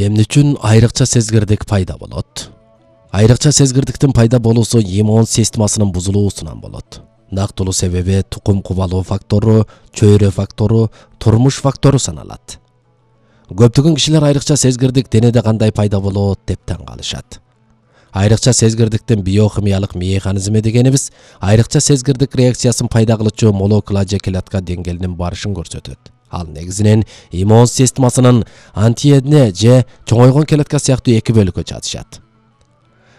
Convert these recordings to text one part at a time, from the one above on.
Эмне үчүн айрыкча сезгирдик пайда болот? Айрыкча сезгирдиктин пайда болуусу иммун системасынын бузулуусунан болот. Нактылуу себеби тукум кубалоо фактору, чөйрө фактору, турмуш фактору саналат. Көптөгөн кишилер айрыкча сезгирдик денеде кандай пайда болот деп таң калышат. Айрыкча сезгирдиктин биохимиялык механизми дегенибиз айрыкча сезгирдик реакциясын пайда кылуучу молекула же клетка деңгээлинин барышын көрсөтөт. Ал негизинен иммун системасынын антиэне же чоңойгон клетка сыяктуу эки бөлүккө жатышат.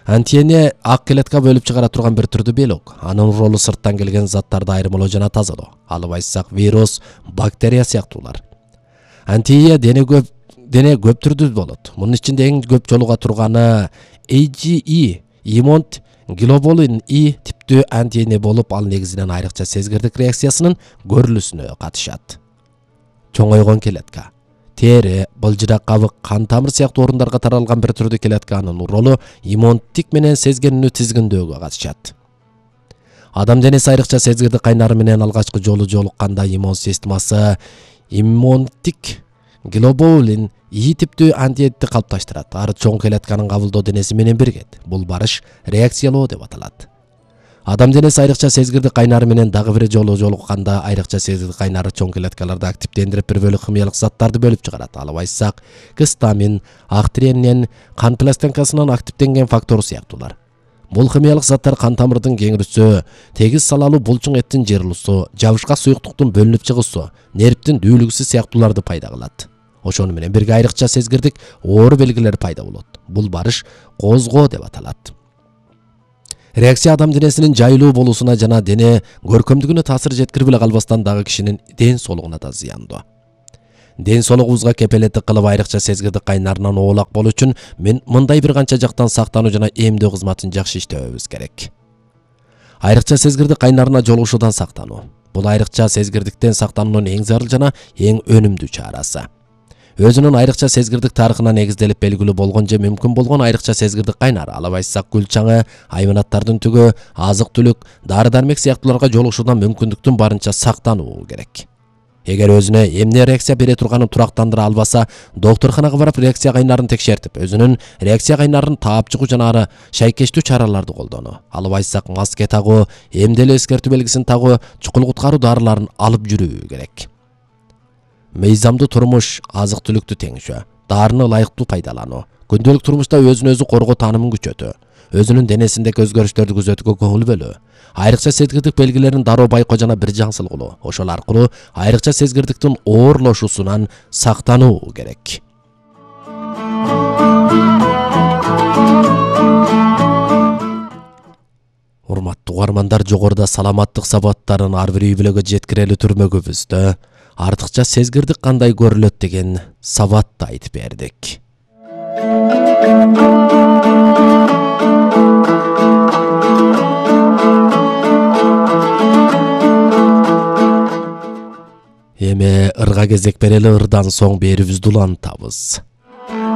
Антиэне ак клетка бөлүп чыгара турган бир түрдүү белок. Анын ролу сырттан келген заттарды айырмалоо жана тазалоо. Алып айтсак вирус, бактерия сыяктуулар. Антиэне дене көп түрдүү болот. Мунун ичинде эң көп жолуга турганы IgE, иммун глобулин И типтүү антиэне болуп, ал негизинен айрыкча сезгирдик реакциясынын көрүлүүсүнө катышат. Чоңойгон клетка. Тери, былжырак кабык, кан тамыр сыяктуу орундарга таралган бир түрдүү клетканын ролу иммунттик менен сезгенүүнү тизгиндөөгө катышат. Адам денеси айрыкча сезгирдик кайнары менен алгачкы жолу жолукканда иммун системасы иммунттик глобулин И типтүү антиэнени калыпташтырат. Ары чоң клетканын кабылдоо денеси менен биригет. Бул барыш реакциялоо деп аталат. Адам денеси айрыкча сезгирдик кайнары менен дагы бир жолу жолукканда айрыкча сезгирдик кайнары чоң клеткаларды активдендирип бир бөлүк химиялык заттарды бөлүп чыгарат. Алып айтсак, гистамин, актренин, кан пластинкасынын активденген фактору сыяктуулар. Бул химиялык заттар кан тамырдын кеңирүүсү, тегиз салалуу булчуң эттин жырылуусу, жабышкак суюктуктун бөлүнүп чыгуусу, нервтин дүүлүгүсү сыяктууларды пайда кылат. Ошону менен бирге айрыкча сезгирдик оор белгилер пайда болот. Бул барыш козгоо деп аталат. Реакция адам денесинин жайлуу болуусуна жана дене көркөмдүгүнө таасир жеткирип эле калбастан дагы кишинин ден соолугуна да зыяндуу. Ден соолугубузга кепелеттик кылып айрыкча сезгирдик кайнарынан оолак болуу үчүн мындай бир канча жактан сактануу жана эмдөө кызматын жакшы иштебебиз керек. Айрыкча сезгирдик кайнарына жолугушуудан сактануу. Бул айрыкча сезгирдиктен сактануунун эң зарыл жана эң өнүмдүү чарасы. Өзүнүн айрыкча сезгирдик тарыхына негизделип белгилүү болгон же мүмкүн болгон айрыкча сезгирдик кайнар, алып айтсак гүл чаңы, айванаттардын түгү, азык-түлүк, дары-дармек сыяктууларга жолугушуудан мүмкүндүктүн барынча сактануу керек. Эгер өзүнө эмне реакция бере турганын турактандыра албаса, доктурканага барып реакция кайнарын текшертип, өзүнүн реакция кайнарын таап чыгуу жана ары шайкештүү чараларды колдонуу. Алып айтсак, маска тагуу, эмделүү эскертүү белгисин тагуу, чукул куткаруу дарыларын алып жүрүү керек. Мыйзамдуу турмуш, азык-түлүктү теңшөө, дарыны ылайыктуу пайдалануу, күндөлүк турмушта өзүн өзү коргоо таанымын күчөтүү, өзүнүн денесиндеги өзгөрүштөрдү күзөтүүгө көңүл бөлүү, айрыкча сезгирдик белгилерин дароо байкоо жана бир жаңсыл кылуу. Ошол аркылуу айрыкча сезгирдиктин оорлошуусунан сактануу керек. Урматтуу угармандар, жогоруда саламаттык сабаттарын ар бир үй бүлөгө жеткирели түрмөгүбүздө артыкча сезгирдик кандай көрүлөт деген сабатты айтып бердик. Эми ырга кезек берели, ырдан соң берүүбүздү улантабыз.